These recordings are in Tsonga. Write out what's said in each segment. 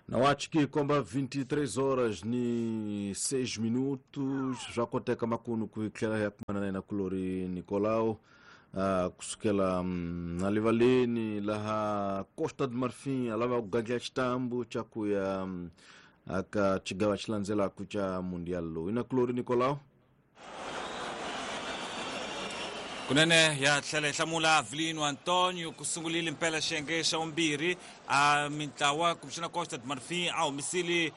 Na ki komba 23 horas ni 6 minutos swa koteka makunu ku hi tlhela hi ya kumana na yena kulori Nicolau kusukela na livaleni laha Costa do Marfim a lava ku gandla xitambu xa ku ya aka xigava xi landzelaka xa mundial lowu. Ina kulori Nicolau. Kunene ya tlhela hi hlamula Avelino Antonio ku sungulile mpela xiyenge xa vumbirhi a mintlawa kumbexana Costa de Marfim a humisile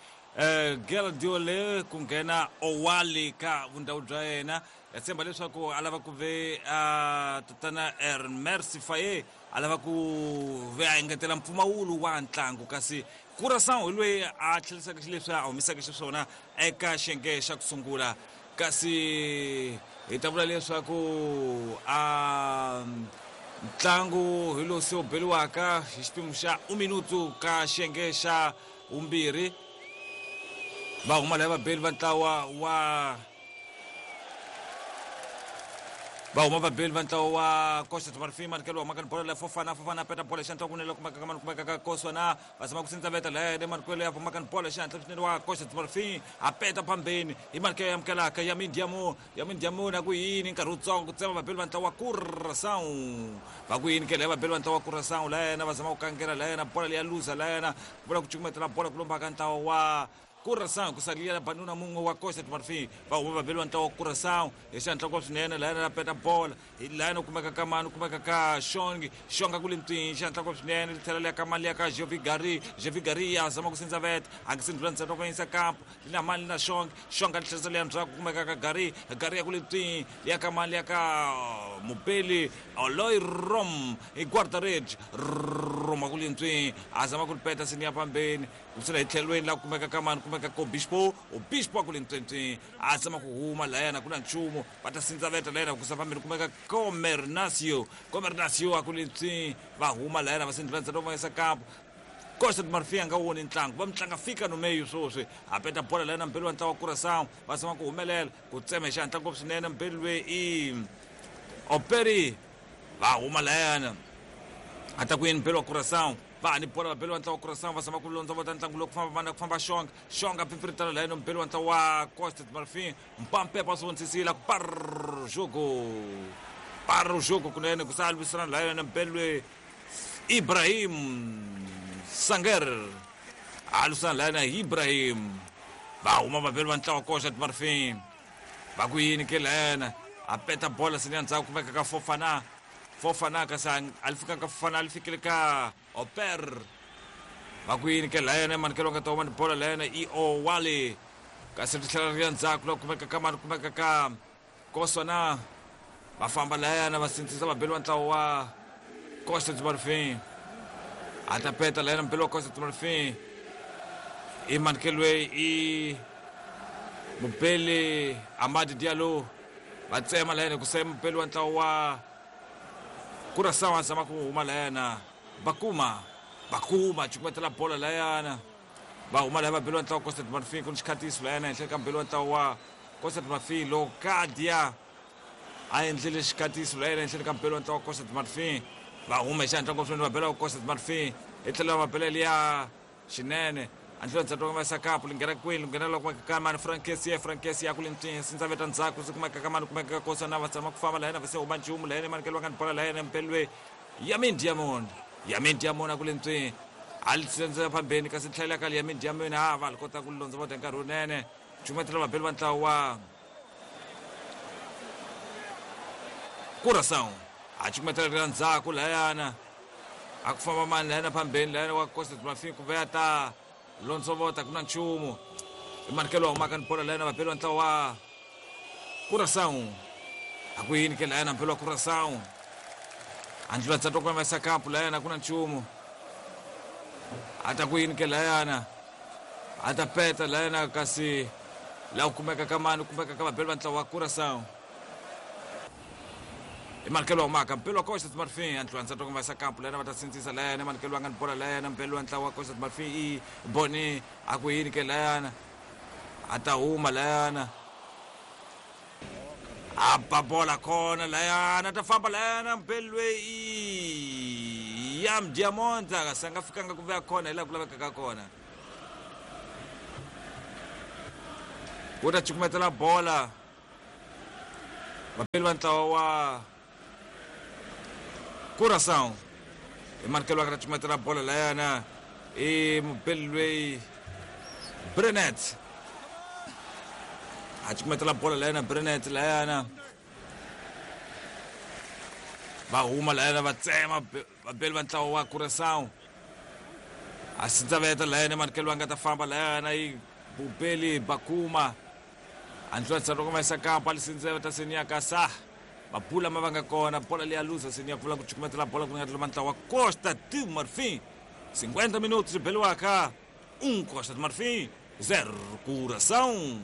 Geldiole ku nghena Owali ka vundhawu bya yena. Ya tshemba leswaku a lava ku ve a tatana Mercy Faye a lava ku ve a engetela mpfumawulo wa ntlangu, kasi Curaçao hi loyi a tlherisaka xileswi a humisaka xiswona eka xiyenge xa ku sungula. Kasi hi ta vula leswaku a ntlangu hi lowu se wu beliwaka hi xiphemu xa uminutu ka xiyenge xa vumbirhi. Va huma laya vabeli va ntlawa wa va huma vabeli va ntlawa wa Costa do Marfim manikelo humaka ni bolo la Fofana. Fofana peta bolo xihatla kunene kumeka ka mani kumeka ka Koswana va zama ku sindzaveta laya le manikelo ya humaka ni bolo xihatla swinene wa Costa do Marfim a peta phambeni hi manikelo ya amukelaka ya Mindiamo ya Mindiamo na ku yini nkarhi wutsongo ku tsema vabeli va ntlawa wa Curaçao va ku yini ke laya vabeli va ntlawa wa Curaçao laya va zama ku kangela laya bola leya luza laya vula ku cukumetela bola ku lombaka ntlawa wa Curaçao ku salia banuna mun'we wa Costa do Marfim va huma vabeli va ntlawa wa Curaçao hi xihatla ngopfu swinene laya na peta bola hi laya no kumeka ka mani kumeka ka Xongi Xonga ku le ntwini xihatla ngopfu swinene ri tlhela liya ka mali ya ka Jovigari Jovigari ya zama ku sindzaveta a ngi sindlula ntsena ku yisa kampo li na mali na Xongi Xonga li tlherisa liya ndzhaku kumeka ka Gari Gari ya ku le ntwini liya ka mali ya ka Mubeli Oloy Rom hi guarda-rede Rom a ku le ntwini a zama ku li peta sini ya pambeni kusela hi tlhelweni laha kumeka ka mani kumeka ko Bispo Obispo a ku le ntswentsweni a zama ku huma layana ku na nchumu va ta sindzaveta layana ku sa fambeni kumeka Comernasio Comernasio a ku le ntswini va huma layana va sindlula ntsena va yisa kampo. Costa do Marfim a nga woni ntlangu va mtlanga fika no meio swoswi a peta bola layana mbeli wa ntlawa wa Curaçao va zama ku humelela ku tsema hi xihatla ngopfu swinene mbeli loyi i Operi va huma layana a ta ku yini mbeli wa Curaçao va ha ni bola vabeli va ntlawa wa Curaçao va zama ku londzovota ntlangu lowu ku famba vana ku famba Xonga Xonga pfipfiritana layana mbeli wa ntlawa wa Costa do Marfim Mpampepa swi vonisisile ku par jogo kunene ku sa lwisana layana mbeli loyi Ibrahim Sanger a lwisana layana Ibrahim va huma vabeli va ntlawa Costa do Marfim va ku yini ke layana a peta bola sini ya ndzhaku kumeka ka Fofana Fofana kasi a li fikanga Fofana a li fikile ka Oper va ku yini ke layana manikelo nga ta huma ni bola layana i Owali kasi ri tlhela ri ya ndzhaku la kumeka ka mani kumeka ka Koswana va famba layana va sindzisa vabeli va ntlawa wa Costa do Marfim a ta peta layana mbeli wa Costa do Marfim i manikelo loyi i mubeli Amadi Diallo va tsema layana ku saya mubeli wa ntlawa wa Curaçao a zama ku huma layana Bakuma Bakuma cukumetela bola layana va huma laya vabeli wa ntlawa Costa do Marfim ku ni xikhatiso layana henhla ka mbeli wa ntlawa wa Costa do Marfim Locadia a endlile xikhatiso layana henhleni ka mbeli wa ntlawa wa Costa do Marfim va huma hi xihatla ngopfu swinene va bela wa Costa do Marfim hi tlhelo va bela liya xinene andlula ndzhaku va yisa kapu li nghena kwini li nghena loko ka mani Frankesi Frankesi ya ku le ntswini sindzaveta ndzhaku swi kumeka ka mani kumeka ka Kosana va tshama ku famba layena va se huma nchumu layena manikelo va nga ni bola layena mbeli loyi Yamin Diamond Yamin Diamond a ku le ntswini a li tsendzela phambeni kasi tlhela ka Yamin Diamond ha va li kota ku londza va nkarhi wunene cukumetela vabeli va ntlawa wa Curaçao a cukumetela ri ndzhaku layana a ku famba mani layana phambeni layana wa Costa do Marfim ku veya ta londzovota ku na nchumu i manikelo wa humaka ni bola layana vabeli va ntlawa wa Curaçao a ku yini ke layana mbeli wa Curaçao a ndlula ndzhaku ku yisa kampu layana ku na nchumu a ta ku yini ke layana a ta peta layana kasi laha ku kumeka ka mani kumeka ka vabeli va ntlawa wa Curaçao i manikelo wa humaka mbeli wa Costa do Marfim a ndlula ndzhaku ku yisa kampu layana va ta sindzisa layana manikelo wa nga ni bola layana mbeli wa ntlawa wa Costa do Marfim i Boni a ku yini ke layana a ta huma layana a ba bola kona layana ta famba layana mbeli loyi i Yam Diamond kasi a nga fikanga ku veya kona hi laha ku lavekaka kona. Ku ta cukumetela bola vapeli va ntlawa wa Curaçao hi manikelo va ta cukumetela bola layana i mupeli loyi Brenet a cukumetela bola layana Brenet layana va huma layana va tsema vapeli va ntlawa wa Curaçao a sindzaveta layana manikelo va nga ta famba layana i bupeli bakuma andlwanisa loko va yisa kampa lisindzaveta seniya sa mabula ma va nga kona bola leyi a luza seniya pfula ku cukumetela bola ku nga tlula ntlawa wa Costa do Marfim 50 minutos beliwaka 1 Costa do Marfim 0 Curaçao.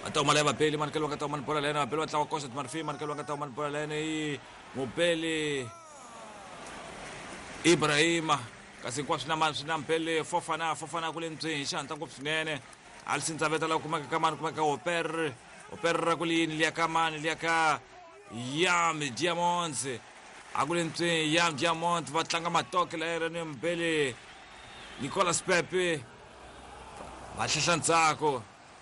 Va ta huma laya vabeli manikelo va nga ta huma ni bola layena vabeli va ntlawa Costa do Marfim manikelo va nga ta huma ni bola layena i mubeli Ibrahima kasi hinkwaswo na mani swi na mpele Fofana Fofana ku le ndzeni hi xihatla ngopfu swinene a li sindzaveta la kumeka ka mani kumeka Oper Oper ra ku li yini liya ka mani liya ka Yam Diamonds a ku le ndzeni Yam Diamond va tlanga matoke la ni mbele Nicolas Pepe va hlehla ndzhaku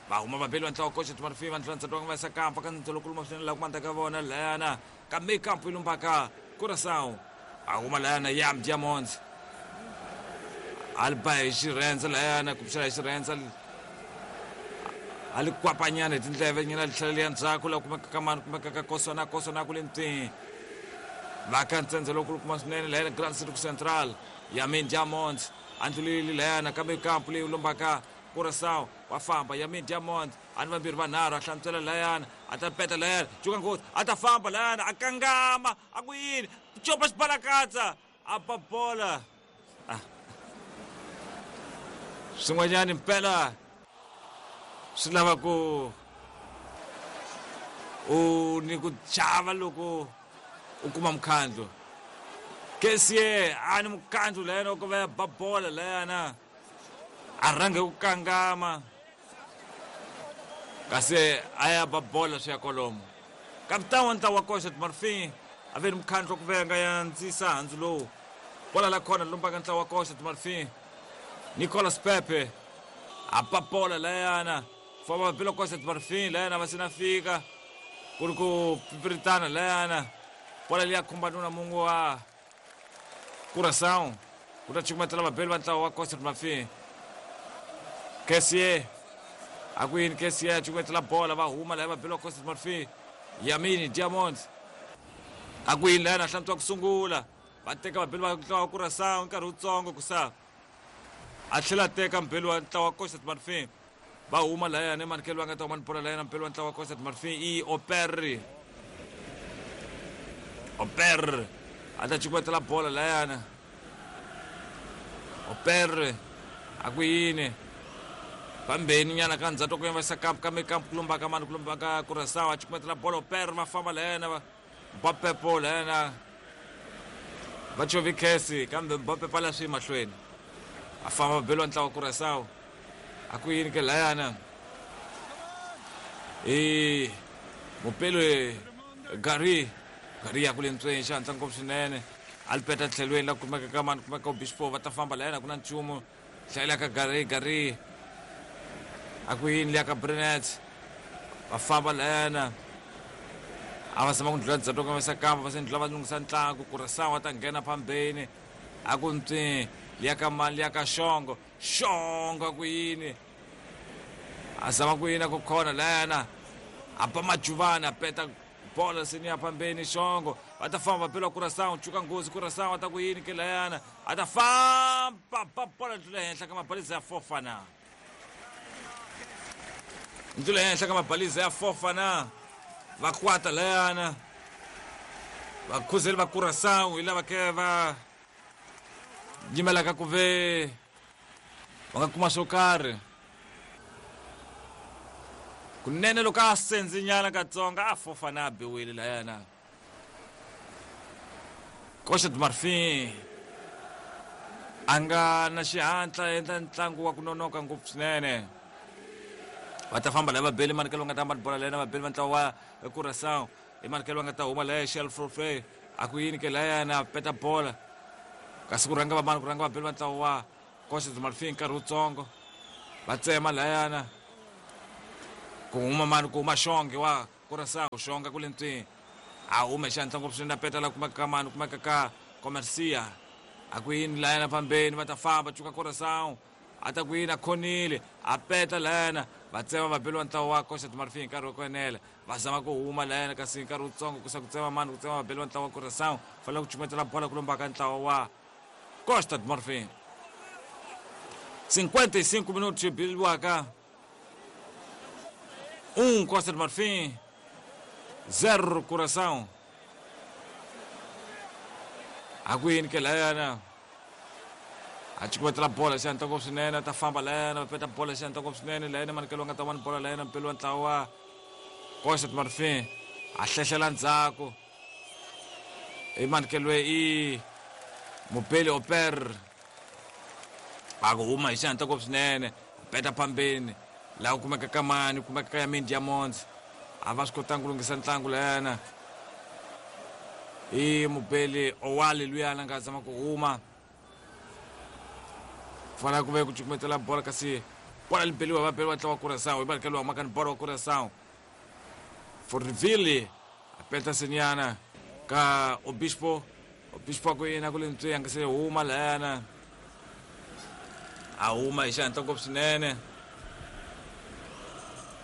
va huma vabeli va ntlawa Costa do Marfim va ndlula ndzhaku va yisa kampa ka ndzilo kuluma swinene laha ku mandza ka vona layana kambe kampu yi lumbaka Curaçao a huma layana Yam Diamonds a li ba hi xirhendze layana kumbexana hi xirhendze a li kwapanyana hi tindleve nyana li tlhela liya ndzhaku laha kumeka ka mani kumeka ka Koswana Koswana ku le ntini va ka ntsendze lowu kulukuma swinene layana Grand Circle Central Yamin Diamonds a ndlulile layana kambe kampu leyi lombaka Curaçao wa famba Yamin Diamond a ni vambirhi vanharhu a hlantswela layana a ta peta layana cuka nghozi a ta famba layana a kangama a ku yini copa xibalakatsa a ba bola swin'wanyani mpela swi lava ku u ni ku chava loko u kuma mukhandlu Kesie a ni mukhandlu layana ku va ya ba bola layana a rhange ku kangama kasi a ya ba bola swi ya kolomo kapitani wa ntlawa wa Costa do Marfim a ve ni mukhandlu ku venga ya ndzisa handzu lowu bola la khona lombaka ntlawa wa Costa do Marfim Nicolas Pepe a ba bola layana famba vapila Costa do Marfim layana va sina fika ku ri ku pipiritana layana bola liya khumba nuna mungu wa Curaçao ku ta cukumetela vabeli va ntlawa wa Costa do Marfim Kesie a ku yini Kesie a cukumetela bola va huma laya vabeli va Costa do Marfim Yamini Diamond a ku yini layana hlantswa ku sungula va teka vabeli va ntlawa wa Curaçao nkarhi wutsongo ku sa a tlhela a teka mbeli wa ntlawa wa Costa do Marfim va huma layana emanikelo va nga ta huma ni bola layana mbeli wa ntlawa wa Costa do Marfim i Oper Oper a ta cukumetela bola layana Oper a ku yini fambeni nyana ka ndzhaku ku yavasa kampu kambe kampu ku lombaka mani ku lombaka Curaçao a cukumetela bola Oper va famba layana va Mbappe layana va chovi khesi kambe Mbappe pala swi mahlweni a famba beliwa ntlawa Curaçao a ku yini ke layana i mupelo Gary Gary ya ku le ntsweni xihatla ngopfu swinene a li peta tlhelweni la kumeka ka mani kumeka Obispo va ta famba layana ku na nchumu hlayela ka Gary Gary a ku yini liya ka Brenet va famba layana a va zama ku ndlula ndzhaku ka vasa kamba va se ndlula va lunghisa ntlangu Curaçao va ta nghena phambeni a ku ntswi liya ka mani liya ka Xongo Xongo a ku yini a zama ku yini a ku khona layana a ba majuvani a peta bola seni ya phambeni Xongo va ta famba va bela Curaçao cuka nghozi Curaçao a ta ku yini ke layana a ta famba ba bola ndlula henhla ka mabaliza ya Fofana ndlula henhla ka mabaliza ya Fofana va kwata layana vakhuzeli va Curaçao hi lava ke va yimelaka ku ve va nga kuma swo karhi kunene loko a sendzinyana katsonga a Fofana a biwile layana Costa do Marfim a nga na xihatla endla ntlangu wa ku nonoka ngopfu swinene va ta famba laya vabeli manikelo va nga ta hamba ni bola layana vabeli va ntlawa wa Curaçao i manikelo va nga ta huma laya Shelfrofe a ku yini ke layana peta bola kasi ku rhanga vamani ku rhanga vabeli va ntlawa wa Costa do Marfim nkarhi wutsongo va tsema layana Ku huma mani, ku huma Xonge wa Curaçao, Xonga kule ntswi a huma xantla ngopfu swinene, a peta la kumeka ka mani, kumeka ka Comercia. A ku yini layana fambeni, va ta famba cuka Curaçao, a ta ku yini, a khonile, a peta layana, va tsema va beliwa ntlawa wa Costa do Marfim hi nkarhi wa ku enela, va zama ku huma layana, kasi hi nkarhi wutsongo ku sa ku tsema mani, ku tsema va beliwa ntlawa wa Curaçao, fanele ku cukumetela bola ku lombaka ntlawa wa Costa do Marfim. 55 minutos biliwaka 1 Costa do Marfim 0 Curaçao. A ku yini ke layana, a cukumetela bola xi ngopfu swinene, a ta famba layana, va peta bola xi ngopfu swinene layana, manikelo nga ta wani bola layana, mpelo wa ntlawa wa Costa do Marfim, a hlehlela ndzhaku i manikelo i mupeli Oper, a ku huma hi xihatla ngopfu swinene, a peta phambeni laha ku kumeka ka mani, kumeka ka Yamin Diamonds, a va swi kotanga ku lunghisa ntlangu layana, i mupeli Owali luyana nga zama ku huma, fanele ku ve ku cukumetela bola, kasi bola li beliwa, va beliwa ntlawa wa Curaçao, hi manikelo wa makani bola wa Curaçao. Forville a peta senyana ka Obispo, Obispo ku yena ku le ntswi, a nga se huma layana, a huma hi xihatla ngopfu swinene,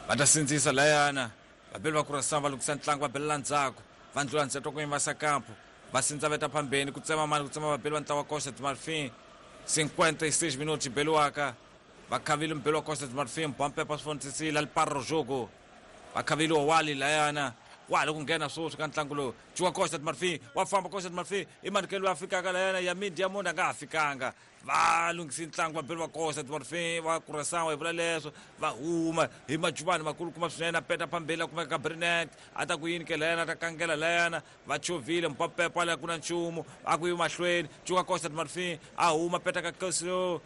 va ta sindzisa layana, vabeli va Curaçao va lunghisa ntlangu, va belela ndzhaku, va ndlula ntsheto ku yimba sakampo, va sindza veta phambeni, ku tsema mani, ku tsema vabeli va ntlawa wa Costa do Marfim. 56 minutos beliwaka, va khavile mubeli wa Costa do Marfim, bompepa swi vonisisile aliparo jogo, va khavile Owali layana, wa ha ri ku nghena sweswi ka ntlangu lowu, cuka Costa do Marfim, wa famba Costa do Marfim, i manikelo ya fikaka layana, Yamin Diamond a nga ha fikanga, va lunghisi ntlangu vabeli va Costa do Marfim va Curaçao, hi vula leswo va huma hi majuvani makulukumba swinene, a peta phambeni la kumeka ka Brinet, a ta ku yini ke layana, a ta kangela layana, va chovhile mpapepa la ku na nchumu, a ku yi mahlweni, cuka Costa do Marfim, a huma peta ka Kesio,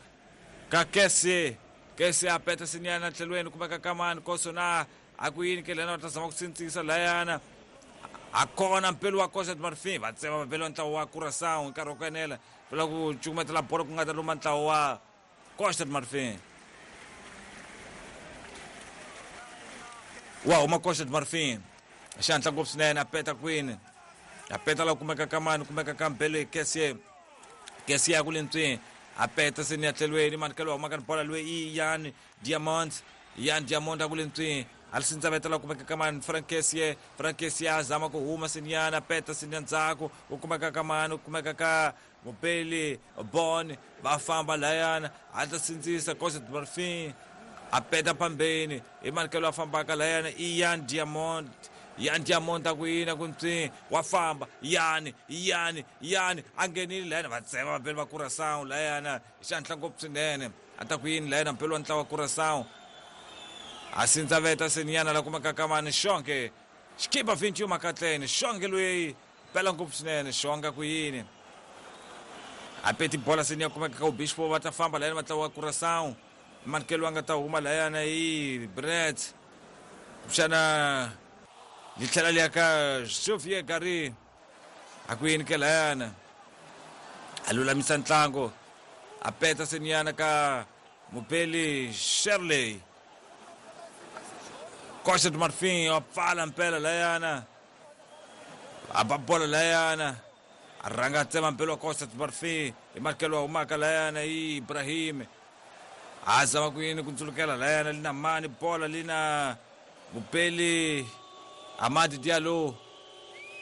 ka Kese, Kese a peta sinyana tlhelweni kumeka ka mani, Kosona, a ku yini ke layana, va ta zama ku sindzisa layana, a kona mpelo wa Costa do Marfim, va tsema va beliwa ntlawa wa Curaçao hi nkarhi wa ku enela, vula ku cukumetela bolo ku nga ta luma ntlawa wa Costa do Marfim. Wa huma Costa do Marfim xihatla ngopfu swinene, a peta kwini, a peta la kumeka ka mani, kumeka ka Mbele Kesie, Kesie ya ku le ntswini, a peta seni ya tlhelweni, manikelo wa humaka ni bola loyi i Yan Diamond, Yan Diamond a ku le ntswini, a li sindzaveta la kumeka ka mani, Frank Kesie, Frank Kesie a zama ku huma senyana, a peta seni ya ndzhaku, u kumeka ka mani, u kumeka ka Mupeli Bon, va famba layana, a ta sindzisa Costa do Marfim, a peta phambeni hi manikelo a fambaka layana i Yan Diamond, Yan Diamond a ku yini, a ku ntswi, wa famba Yani, Yani, Yani a nghenile layana, va tsema vabeli va Curaçao layana hi xihatla ngopfu swinene, a ta ku yini layana mpelo wa ntlawa wa Curaçao, a sindzaveta senyana la kumeka ka mani, Xonge xikipa 21 makatleni, Xonge loyi pela ngopfu swinene, Xonga ku yini, a peti bola seni ya kumeka ka Obispo, va ta famba layana va ntlawa wa Curaçao, manikelo a nga ta huma layana i Brett, kumbexana li tlhela li ya ka Xavier Gary, a ku yini ke layana, a lulamisa ntlangu, a peta senyana ka Mupeli Shirley, Costa do Marfim wa pfala mpela layana, a ba bola layana, a rhanga a tsema mpelo wa Costa do Marfim hi manikelo wa humaka layana i Ibrahim, a zama ku yini ku ndzulukela layana, li na mani bola, li na Mupeli Amadi Diallo,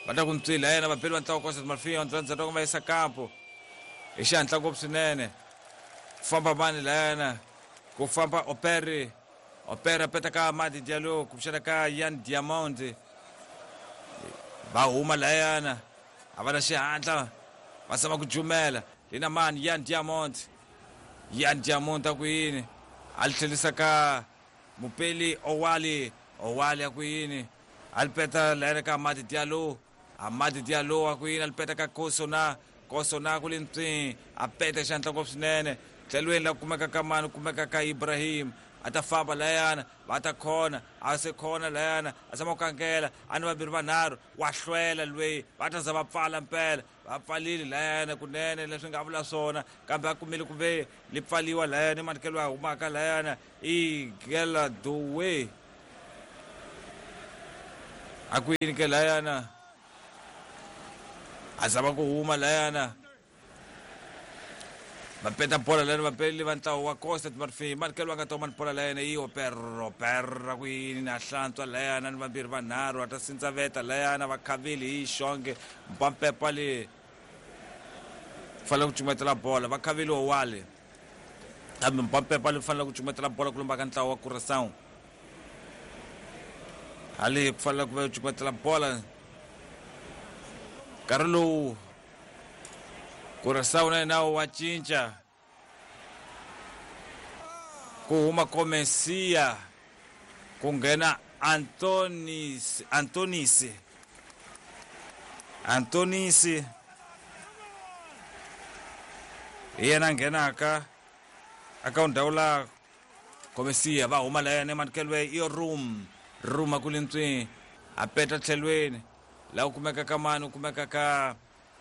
va ta ku ntswi layana, vabeli va ntlawa wa Costa do Marfim ndzandza va yisa kampo hi xihatla ngopfu swinene, ku famba mani layana, ku famba Opere, Opere a peta ka Amadi Diallo, kumbexana ka Yan Diamond, va huma layana, a va na xihatla, va zama ku jumela, li na mani Yan Diamond, Yan Diamond a ku yini, a li tlhelisa ka Mupeli Owali, Owali a ku yini, a li peta layana ka Amadi Diallo, Amadi Diallo a ku yini, a li peta ka Kosona, Kosona ku le ntswini, a peta xihatla ngopfu swinene, tlhelweni la kumeka ka mani, kumeka ka Ibrahim, a ta famba layana, va ta khona, a se khona layana, a zama ku kangela, a ni vambirhi vanharhu, wa hlwela lweyi, va ta za va pfala mpela, va pfalile layana kunene leswi nga vula swona, kambe a kumile ku ve li pfaliwa layana, i manikelo ya humaka layana i Gela Dowe, A ku yini ke layana? A zama ku huma layana. Va peta bola layana vapeli va ntlawa wa Costa de Marfim. Manikelo va nga toma ni bola layana yi Operro Perra ku yini na hlantswa layana ni vambirhi vanharhu a ta sindzaveta layana va khavile hi xonge mpampepa le fanele ku cumetela bola va khavile owale kambe mpampepa le fanele ku cumetela bola ku lomba ka ntlawa wa Curaçao hale ku fanele ku va cumetela bola nkarhi lowu Curaçao na yena wa cinca ku huma Komesia ku nghena Antonis Antonisi Antonisi hi yena a nghenaka aka ndhawu la Komesia va huma layani emanikelo i room room a ku le ntswini a peta tlhelweni laha ku kumeka ka mani ku kumeka ka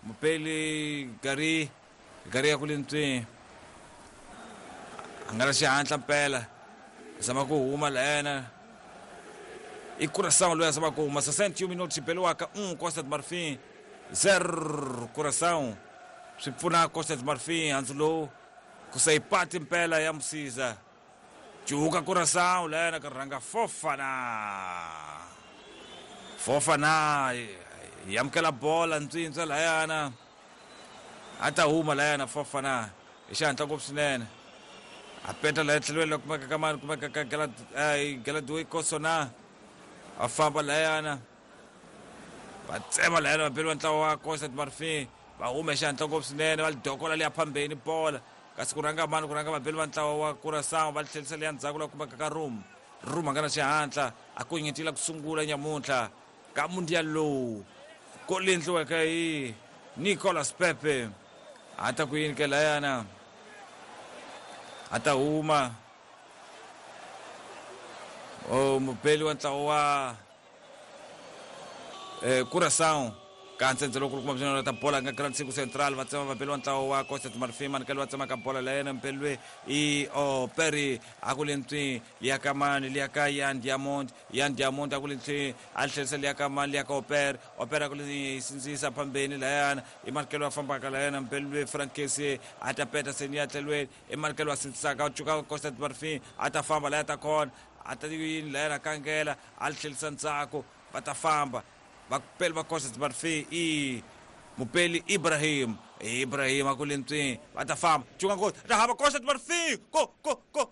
mupeli gari gari ya ku le ntswini a nga na xihatla mpela zama ku huma layana i Curaçao loyi a zama ku huma 61 minutos xibeliwaka 1 Costa de Marfim 0 Curaçao swi pfuna Costa de Marfim handzu lowu ku sayipati mpela ya musiza cuka Curaçao layana ka rhanga Fofana Fofana yi amukela bola ntswintswa layana a ta huma layana Fofana hi xihatla ngopfu swinene a peta laya tlhelweni la kumeka ka mani kumeka ka Galadoy Kosona a famba layana va tsema layana va beliwa ntlawa wa Costa de Marfim va huma hi xihatla ngopfu swinene va lidokola liya phambeni bola kasi ku rhanga mani ku rhanga vabeli va ntlawa wa Curaçao va tlhelisa liya ndzhaku la kumeka ka room room a nga na xihatla a ku nyetila ku sungula nyamuntlha ka mundial lowu ko li endliweke hi Nicolas Pepe a ta ku yini ke layana a ta huma o mubeli wa ntlawa wa Curaçao ka ntsendze lowu kulukumba swinene ta bola nga Grand Siku Central va tsema vabeli wa ntlawa wa Costa de Marfim manikelo va tsema ka bola layena mpeli loyi i o Perry a ku le ntswi liya ka mani liya ka Yan Diamond Yan Diamond a ku le ntswi a tlherisa liya ka mani liya ka Oper Oper a ku le sindzisa phambeni layana i manikelo a fambaka layana mpeli loyi Frankesi a ta peta seni ya tlhelweni i manikelo a sindzisaka a cuka Costa de Marfim a ta famba laya ta kona a ta yini layana kangela a tlherisa ndzhaku va ta famba vapeli va Costa de Marfim i mupeli Ibrahim Ibrahim a ku le ntswini va ta famba cuka ngoti ta hava Costa de Marfim ko ko ko.